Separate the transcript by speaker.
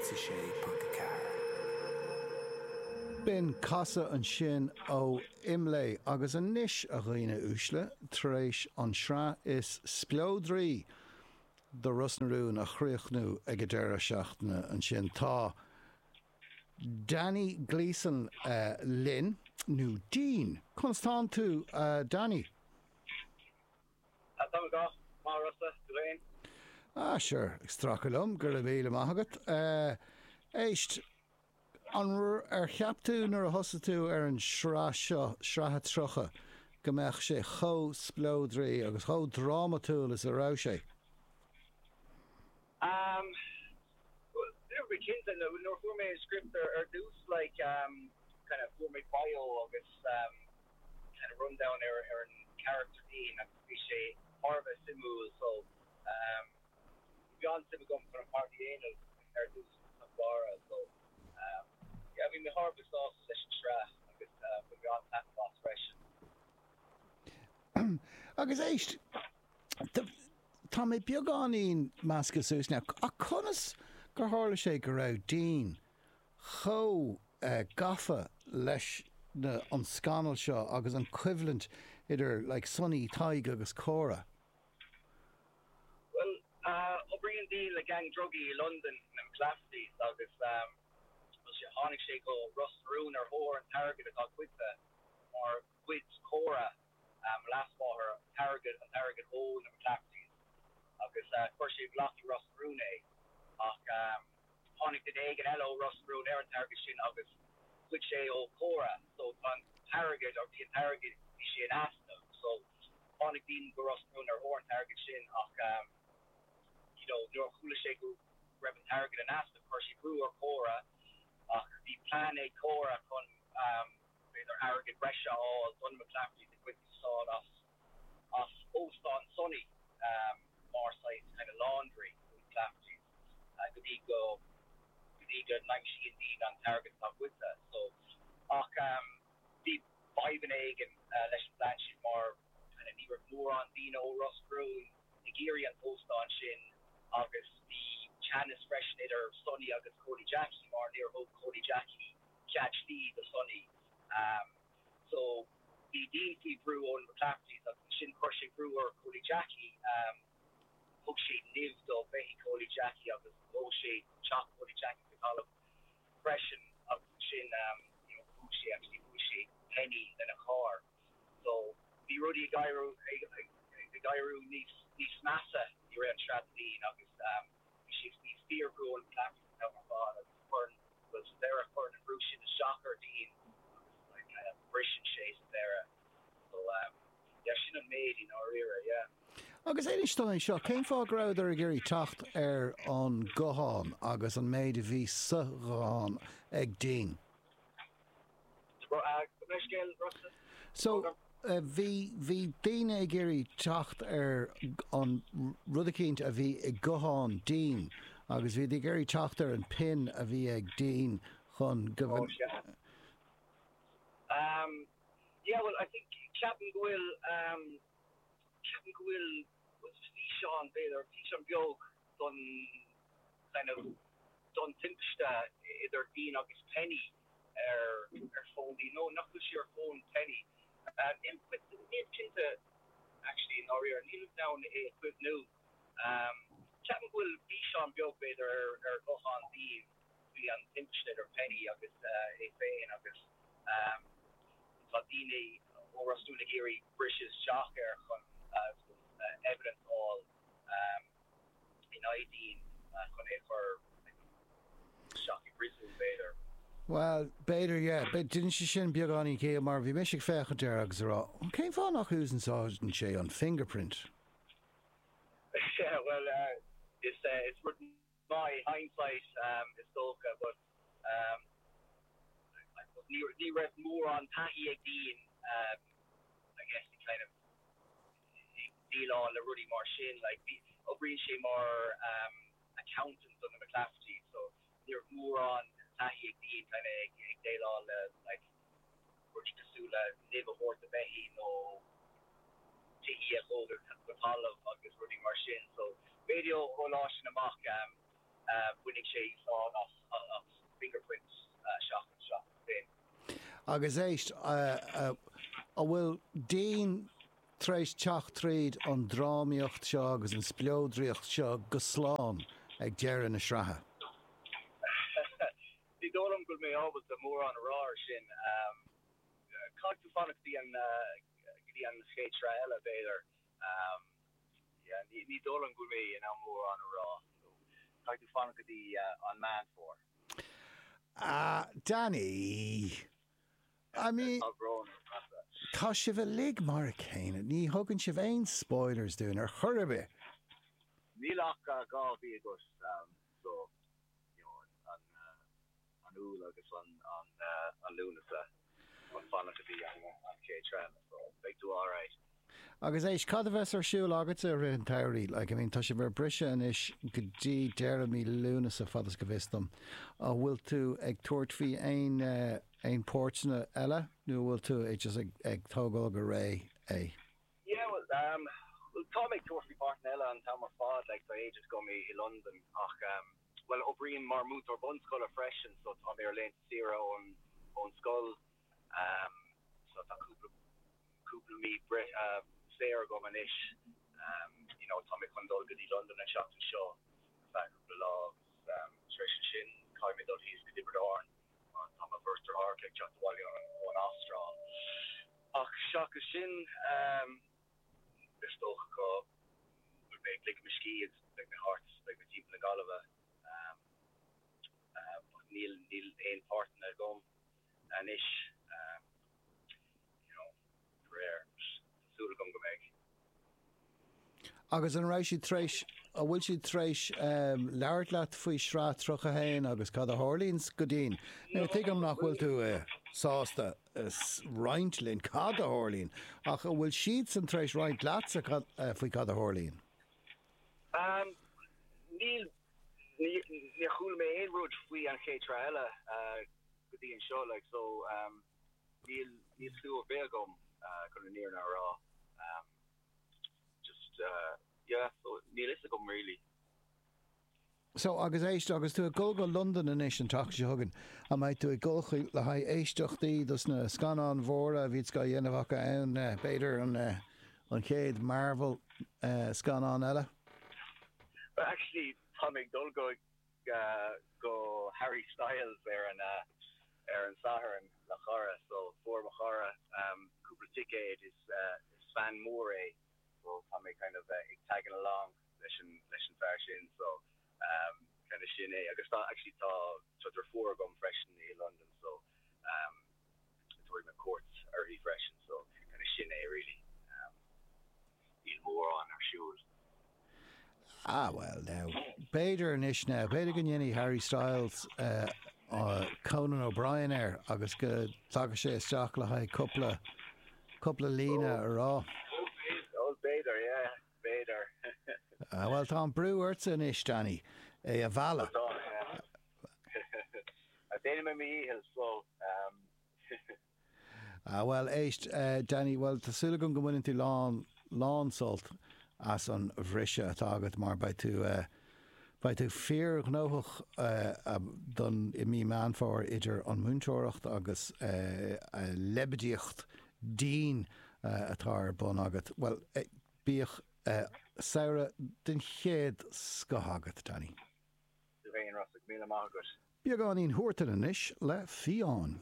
Speaker 1: 106.4.
Speaker 2: B'in Casadh ansin ó IMLÉ agus anois, a dhaoine uaisle, tar éis an sraith is spleodraí de Ros na Rún a chríochnú ag an deireadh seachtaine ansin, tá Danny Gleeson linn, nó Dean. Conas tánn tú, a Danny?
Speaker 3: Tá mé go maith, Rossa, tú féin?
Speaker 2: Ah, sure, ag stracadh liom, go raibh míle maith agat. Éist, an ar cheap tú nuair a thosaigh tú ar an sraith seo, sraith a 30, go mbeadh sé chomh spleodraí agus chomh drámatúil is a raibh sé?
Speaker 3: Um, bhuel, ní raibh mé cinnte, nuair a fuair mé an script ar dtús, like, kind of fuair mé bio agus kind of rundown ar ar an character Dean agus bhí sé thar a bheith suimiúil so bhí an-suim agam chun an páirt a dhéanamh ar dtús sa mBarra so yeah bhí mé thar a bheith sásta leis an sraith agus bhain mé an-taitneamh as freisin.
Speaker 2: Agus éist, tá mé beagáinín measctha suas now, ach conas gur tharla sé go raibh Dean chomh gafa leis na, an scannal seo agus an choimhlint idir like Sonny, Tadhg agus Córa.
Speaker 3: Bhuel, oibríonn Dean le gang drugaí i Londain, na McClaffertys, agus tháinig sé go Ros na Rún ar thóir an t-airgead atá goidte mar ghoid Córa, mo leasmháthair, an t-airgead, an t-airgead ó na McClaffertys agus chuir sé i bhfolach i Ros na Rún é ach tháinig duine éigin eile ó Ros na Rún ar an t-airgead sin agus ghoid sé ó Córa so tá an t-airgead, or bhí an t-airgead, bhí sé in easnamh so tháinig Dean go Ros na Rún ar thóir an t-airgead sin ach you know nuair a chuala sé go raibh an t-airgead in easnamh chuir sé brú ar Córa ach bhí plean ag Córa chun b'fhéidir airgead breise a fháil do na McClaffertys ag baint úsáid as as óstán Sonny mar saghas kind of laundry do na McClaffertys go dtí go go dtí go n-aimsíonn Dean an t-airgead atá goidte. So ach bhí fadhbanna éigin leis an bplean sin mar kind of ní raibh mórán daoine ó Ros na Rún ag iarraidh an t-óstán sin agus bhí teannas freisin idir Sonny agus Cóilí Jackie mar níor thug Cóilí Jackie cead slí do Sonny. So bhí Dean faoi bhrú ó na McClaffertys agus ansin chuir sé brú ar Chóilí Jackie. Thug sé nimh do bheithígh Chóilí Jackie agus dhóigh sé teach Chóilí Jackie go talamh freisin agus ansin you know bhuail sé actually bhuail sé Penny lena charr. So bhí rudaí ag éiriú ag éiriú níos níos measa i rith an tsraith do Dean agus bhí sé faoi fíorbhrú ó na McClaffertys an t-am ar fad agus chuir Bhuel, sa deireadh, cuireann an brú sin isteach ar Dean agus like kind of briseann sé sa deireadh. So um yeah, sin an méid i ndáiríre, yeah.
Speaker 2: Agus inis dom é seo, cén fáth go rabhadar ag iarraidh teacht ar an guthán agus an méid a bhí sa ghuthán ag Dean? So, bhí, bhí daoine ag iarraidh teacht ar an rud eicínt a bhí i guthán Dean agus bhíod ag iarraidh teacht ar an pin a bhí ag Dean chun go.
Speaker 3: Oh, sea. Um, yeah, well, I think, ceapaim go bhfuil, um, ceapaim go bhfuil físeán, b'fhéidir, físeán beag don kind of, don timpiste idir Dean agus Penny ar ar fón Dean, nó nach bhfuil sé ar fón Penny. Níl níl cinnte actually i ndáiríre, nílim in ann é a chuimhniú. Ceapaim go bhfuil físeán beag b'fhéidir ar ar ghuthán Dean faoi an timpiste idir Penny agus é féin agus tá daoine ó Ros na Rún ag iarraidh briseadh isteach air chun evidence a fháil. in aghaidh Dean chun é a chur isteach i bpríosún, b'fhéidir.
Speaker 2: Bhuel, b'fhéidir, yeah. Déanann sé sin beagáinín ciall mar bhí mise ag féachaint air agus ag rá, cén fáth nach úsáideann sé an fingerprint?
Speaker 3: Yeah, bhuel, is rud maith hindsight is dócha, but I suppose ní raibh mórán taithí ag Dean, I guess, i kind of ag déileáil le rudaí mar sin. Like, bhí, oibríonn sé mar accountant do na McClaffertys so ní raibh mórán taithí ag Dean kind of ag ag déileáil le like rudaí cosúil le nimh a thabhairt do bheithígh nó tithe a dhó go talamh agus rudaí mar sin. So b'fhéidir ó ó lá sin amach. Bainfidh sé úsáid as fingerprints seachas sin.
Speaker 2: Agus éist, an bhfuil Dean tar éis teacht tríd an drámaíocht seo agus an spleodraíocht seo go slán ag deireadh na sraithe?
Speaker 3: Ní dóigh liom go bhfuil mé ábalta mórán a rá ar sin. Caithfidh tú fanacht go dtí an go dtí an chéad sraith eile, b'fhéidir. Yeah, ní dóigh liom go bhfuil mé in ann mórán a rá. So, caithfidh tú fanacht go dtí an Meán Fómhair.
Speaker 2: Ah, Danny! I mean,
Speaker 3: Tá brón orm, Rossa.
Speaker 2: tá sibh uilig mar a chéile. Ní thugann sibh aon spoilers dúinn ar chor ar bith.
Speaker 3: Níl ach 2 mhí agat, so, you know, an, an Iúil agus an, an Lúnasa chun fanacht go dtí an chéad sraith eile, so beidh tú alright.
Speaker 2: Agus éist, cad a bheas ar siúl agatsa i rith an tsamhraidh? Like, I mean, tá sibh ar briseadh anois go dtí deireadh mí Lúnasa, fad is go bhfios dom. An bhfuil tú ag tabhairt faoi aon, aon páirteanna eile nó an bhfuil tú ag just ag, ag tógáil go réidh é?
Speaker 3: Yeah, well, um, well, tá mé ag tabhairt faoi pháirteanna eile an t-am ar fad, like, tá agent agam i, i Londain ach, um, well, oibrím mar múinteoir bunscoile freisin, so tá mé ar laethanta saoire ón, ón scoil, um, so tá cúpla, cúpla mí bre-, uh, saor agam anois, um, you know, tá mé chun dul go dtí Londain an seachtain seo ar feadh cúpla lá agus, um, tar éis sin caithfidh mé dul thíos go Tiobraid Árann mar tá mo bheirt deartháireacha ag teacht abhaile ón Astráil. Ach seachas sin, is dócha go bhfuil mé ag ligean mo scíth agus beidh mé thart, beidh mé timpeall na Gaillimhe. But níl, níl aon páirteanna agam anois, you know, faraor. Tá súil agam go mbeidh.
Speaker 2: Agus an raibh siad tar éis, an bhfuil siad tar éis labhairt leat faoi shraith 31 agus cad a tharlaíonn go Dean? Now tuigim nach bhfuil tú sásta roinnt linn cad a tharlaíonn, ach an bhfuil siadsan tar éis roinnt leatsa faoi cad a tharlaíonn?
Speaker 3: Níl, níor chuala mé aon rud faoi an chéad tsraith eile go dtí anseo, like, so níl, níl clue ar bith agam chun an fhírinne a rá. Just yeah, so níl fhios agam really.
Speaker 2: So, agus éist, agus tú ag dul go Londain anois an tseachtain seo chugainn, an mbeidh tú ag dul chuig, le haghaidh éisteachtaí dos na scannáin mhóra a bhíonns á dhéanamh acu ann, b'fhéidir an, an chéad Marvel scannán eile?
Speaker 3: Well actually tá mé ag dul go go Harry Styles ar an ar an Satharn le cara so fuair mo chara cúpla ticéad is is fan mór é so tá mé kind of ag tagging along leis an leis an fear sin so kind of sin é agus tá actually tá tá deirfiúr agam freisin i London so tabharfaidh mé cuairt uirthi freisin so kind of sin é really níl mórán ar siúl.
Speaker 2: Ah bhuel now, b'fhéidir anois now, b'fhéidir go ndéanfaidh Harry Styles Conan O'Brien air agus go dtaga sé isteach le haghaidh cúpla, cúpla líne a rá.
Speaker 3: Oh b'fhéidir, yeah, b'fhéidir.
Speaker 2: Ah bhuel tá an brú ortsa anois Danny, é a mhealladh.
Speaker 3: Tá, yeah. Déanfaidh mé mo dhícheall so.
Speaker 2: Ah bhuel, éist, Danny, bhuel tá súil agam go mbaineann tú lán, lán sult as an bhriseadh atá agat mar beidh tú, beidh tú fíorghnóthach don, i mí Meán Fómhair idir an múinteoireacht agus leibidíocht Dean atá ar bun agat. Bhuel, bíodh samhradh den chéad scoth agat, Danny.
Speaker 3: Tú féin, Rossa, go míle maith agat.
Speaker 2: Beagáinín Huartan anois le Fiáin.